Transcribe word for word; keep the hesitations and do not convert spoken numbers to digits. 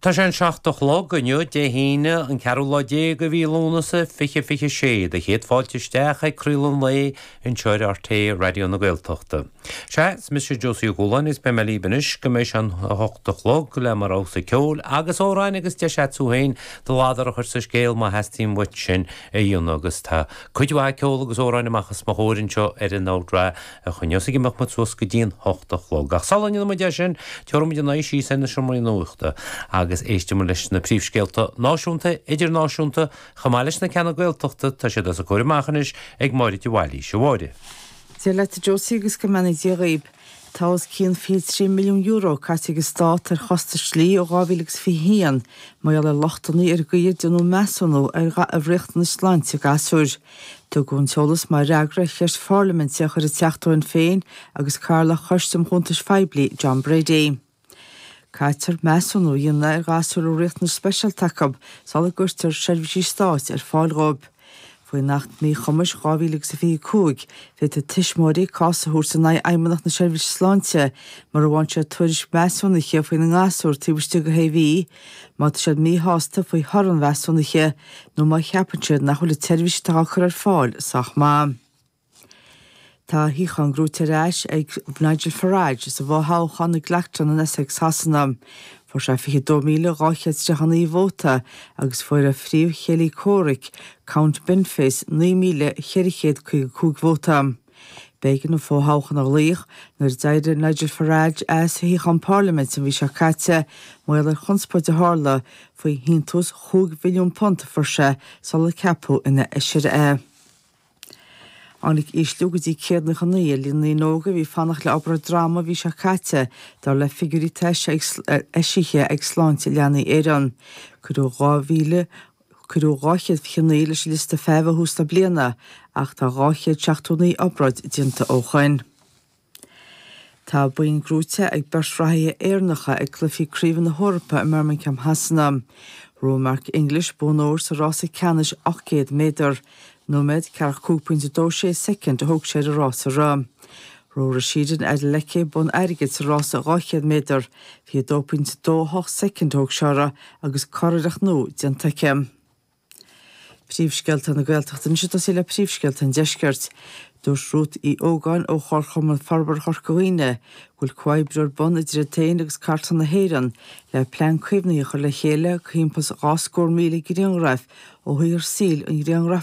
Tá sé an seacht a chlog inniu Dé hAoine an ceathrú lá déag de mhí Lúnasa fiche fiche sé do chéad fáilte isteach ag craoladh an lae anseo ar RTÉ Raidió na Gaeltachta. Sea, is mise Josie Ó Cualáin is beidh mé libh anois go mbeidh sé an a hocht a chlog le mo rogha ceoil agus amhráin agus deis agat tú féin do ladar a chur sa scéal má theastaíonn uait sin a dhéanamh agus tá cuid mhaith ceol agus amhráin amach os mo chomhair anseo ar an ndra a choinneos ag imeacht muid suas go dtí an hocht a chlog. Ach sula ndéanfaidh muid é sin, tabharfaidh muid an aghaidh síos ar na seomraí nuachta agus éistfidh muid leis na príomhscéalta náisiúnta, idirnáisiúnta, chomh maith leis na ceanna Gaeltachta tá siad os a gcomhair amach anois ag Máire de Bhailís a Mháire. Dia leat Josie agus go mbeannaí Dia dhaoib. Tá os cionn fiche trí milliún euro caite ag an stát ar chostais dlí ó dhá mhíle agus fiche haon, mar gheall ar lochtanna ar an gcaoi ar déanadh measúnú ar ar riachtanais sláinte gasúir. Tugadh an t-eolas mar fhreagra ar cheist pharlaiminte a chuir an Teachta ó Shinn Féin agus Cathaoirleach Choiste um Chuntais Phoiblí John Brady. Caithfear measúnú a dhéanamh ar ghasúir a riachtanais speisialta acu sula gcuirtear seirbhísí stáit ar fáil dóibh. Faoin Acht Míchumais dhá mhíle agus fiche cúig, féadfaidh tuismitheoirí cás a thabhairt in aghaidh Fheidhmeannacht na Seirbhíse Sláinte mura bhfaigheann siad tuairisc measúnaithe faoina ngasúr taobh istigh de shé mhí, má tá siad míshásta faoi thoradh an mheasúnaithe nó má cheapann siad nach bhfuil an tseirbhís atá á cur ar fáil sách maith. Tá a shuíochán gnóthaithe ar ais ag Nigel Farage sa bhfothoghchán i gClacton in Essex Shasana. Fuair sé fiche dó míle dhá chéad tríocha naoi vóta agus fuair a phríomhchéile comhraic Count Binface naoi míle ceithre chéad caoga cúig vóta. B'éigean an fothoghchán a ghlaoch nuair a d'éirigh Nigel Farage as a shuíochán parlaiminte an mhí seo caite mar gheall ar chonspóid a tharla faoi shíntiús chúig mhilliún punt a fuair sé sular ceapadh ina fheisire é. Tháinig ísliú go dtí céad nócha naoi ar líon na ndaoine óga a bhí ag fanacht le obráid droma an mhí seo caite dar le figiúirí eisithe ag Sláinte Leanaí Éireann. Cuireadh dhá mhíle cuireadh dhá chéad fiche naoi leis an liosta feithimh ó thús na bliana ach tá dhá chéad seachtó naoi obráid déanta ó shin. Tá boinn gnóthaithe ag beirt reathaithe Éireannacha ag cluichí craoibhe na hEorpa i mBirmingham Shasana. Ghnóthaigh Mark English bonn óir sa rása ceannais ocht gcéad méadar. Nóiméad ceathracha cúig pointe dó sé soicind a thóg sé ar an rás a rith. Ghnóthaigh Rhasidat Adeleke bonn airgid sa rása dhá chéad méadar, fiche dó pointe dó hocht soicind a thóg sé uirthi agus curiarracht nua déanta aici. Príomhscéalta na Gaeltachta anois ag tosaí le príomhscéalta an deiscirt. Dúirt Ruth Uí Ógáin ó Chomharchumann Forbartha Chorca Dhuibhne go bhfuil comhoibriú ar bun idir iad féin agus Cartlann na hÉireann le plean caomhnaithe a chur le chéile timpeall dhá scór míle grianghraf ó shaothar saoil an ghrianghrafadóra